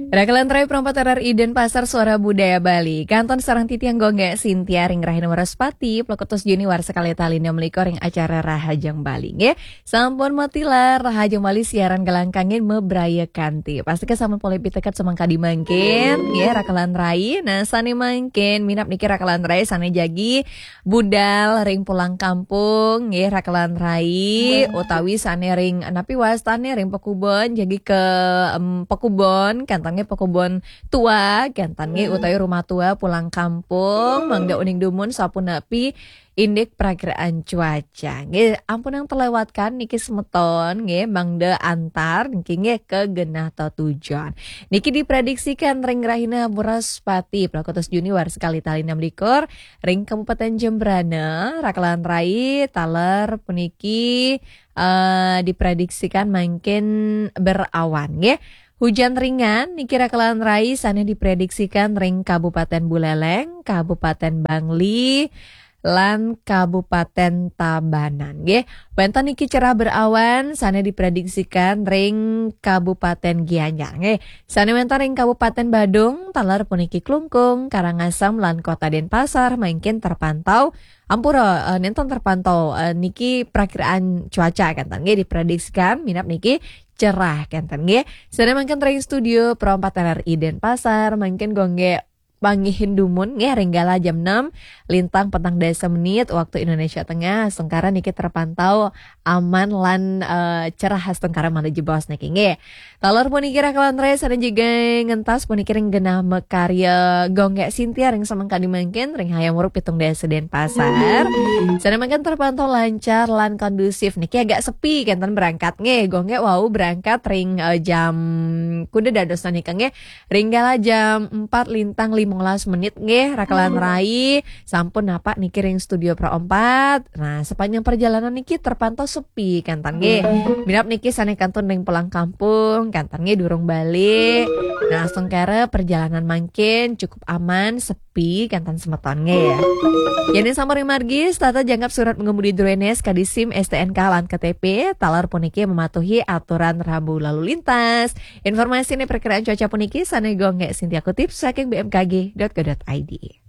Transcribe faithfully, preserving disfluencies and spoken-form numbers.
Rakelan Rai Perempat R R I Denpasar, Suara Budaya Bali. Kantun sareng titiang Gung Gé Sintia ring rahina Wraspati, plekutus Juni warsa kalih tali enem likur ring acara Rahajeng Bali, nggih. Sampun matilar Rahajeng Bali siaran galang kanggé mabraya kanti. Pastika sampun polih piteket samangkadi mangkin, nggih, Rakelan Rai. Nah, sané mangkin, minab niki Rakelan Rai sané jagi budal ring pulang kampung, nggih, Rakelan Rai, utawi sané ring, napi wastané, ring pakubon, jagi ke, em, pakubon, kénten nggih, pakubon tua, kénten nggih, utawi rumah tua pulang kampung, mangda uning dumun sapunapi indik prakiraan cuaca. Nggih, ampunang terlewatkan niki semeton, nggih, mangda antar niki nggih ka genah tetujon. Niki diprediksikan ring rahina Wraspati, plekutus Juni warsa kalih tali enem likur, ring Kabupaten Jembrana, Rakelan Rai, taler puniki, eh, diprediksikan mangkin berawan, nggih. Hujan ringan niki Rakelan Rai sané diprediksikan ring Kabupaten Buleleng, Kabupaten Bangli, lan Kabupaten Tabanan, nggih. Wénten niki cerah berawan sané diprediksikan ring Kabupaten Gianyar, nggih. Sané wénten ring Kabupaten Badung, taler puniki Klungkung, Karangasem, lan Kota Denpasar mangkin terpantau, ampura, eh, nénten terpantau, eh, niki prakiraan cuaca kénten, nggih, diprediksikan minab niki cerah kénten, nggih. Sané mangkin ring studio Pro empat R R I Denpasar, mangkin Gung Gé panggihin dumun, nggih, ring galah jam enam lintang petang dasa menit waktu Indonesia Tengah, astungkara niki terpantau aman lan, eh, cerah, astungkara malih jebos niki, nggih. Taler puniki Rakelan Rai sané jagi ngentas puniki ring genah makarya Gung Gé Sintia ring samangkadi mangkin ring Hayam Wuruk pitung dasa Denpasar. Sané mangkin terpantau lancar lan kondusif niki, agak sepi kénten berangkat, nggih. Gung Gé wau berangkat ring, eh, jam kuda dados nika, nggih. Ring galah jam empat lintang limolas menit, nggih, Rakelan Rai sampun napak niki ring studio Pro empat. Nah, sepanjang perjalanan niki terpantau sepi kénten, nggih. Minab niki sané kantun ring pulang kampung kénten, nggih, durung balik. Nah, astungkara perjalanan mangkin cukup aman, sepi kénten semeton, nggih. Yén sampun ring margi, setata jangkep surat mengemudi, drone, S K D, SIM, S T N K, lan K T P, taler puniki mematuhi aturan rambu lalu lintas. Informasi niki prakiraan cuaca puniki sané Gung Gé Sintia kutip saking B M K G dot go dot I D.